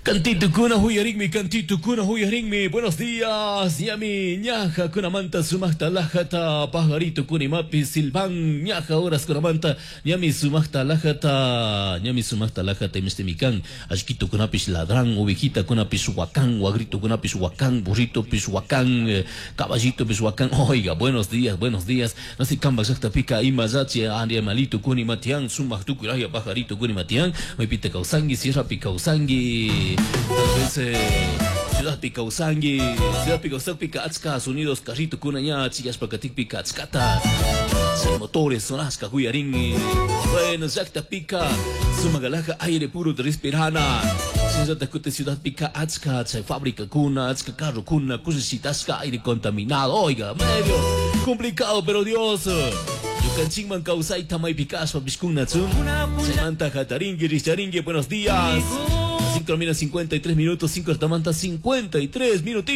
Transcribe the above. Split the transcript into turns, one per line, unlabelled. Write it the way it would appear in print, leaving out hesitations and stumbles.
Cantito kuna huyarinmi, cantito kuna huyarinmi. Buenos días, ñami ñaja kunamanta sumaqta lajata pajarito kunimapi silvan ñaja horas kunamanta ñami sumaqta lajata ñami sumaqta lajata imistimikan ashkito kunapish ladran ovejita kunapish wakan wagrito kunapish wakan burrito pish wakan caballito pish wakan. Oiga, buenos días, buenos días. No sé kamba llaqtapika imallachi animalito kunimatian sumaq tukuy pajarito kunimatian maypita kawsanki sierrapi kawsanki. Tal vez ciudadpi kawsanki, ciudadpi kawsakpika achka sonidos carrito kuna ña chiyashpa katikpika achkata chay motores sonashka huyarin. Bueno, llaqtapika sumaq alhaja aire puro respirana. Shinallata kutin ciudadpika achka chay fábrica kuna, achka carro kuna, kushishitashka aire contaminado. Oiga, medio complicado, pero Dios. Ñukanchikman kawsayta maypi kashpa pishkunatsun. Chaymanta hatarinki, rikcharinki, buenos días. 5 termina 53 minutos, 5 tamanta 53 minutitos.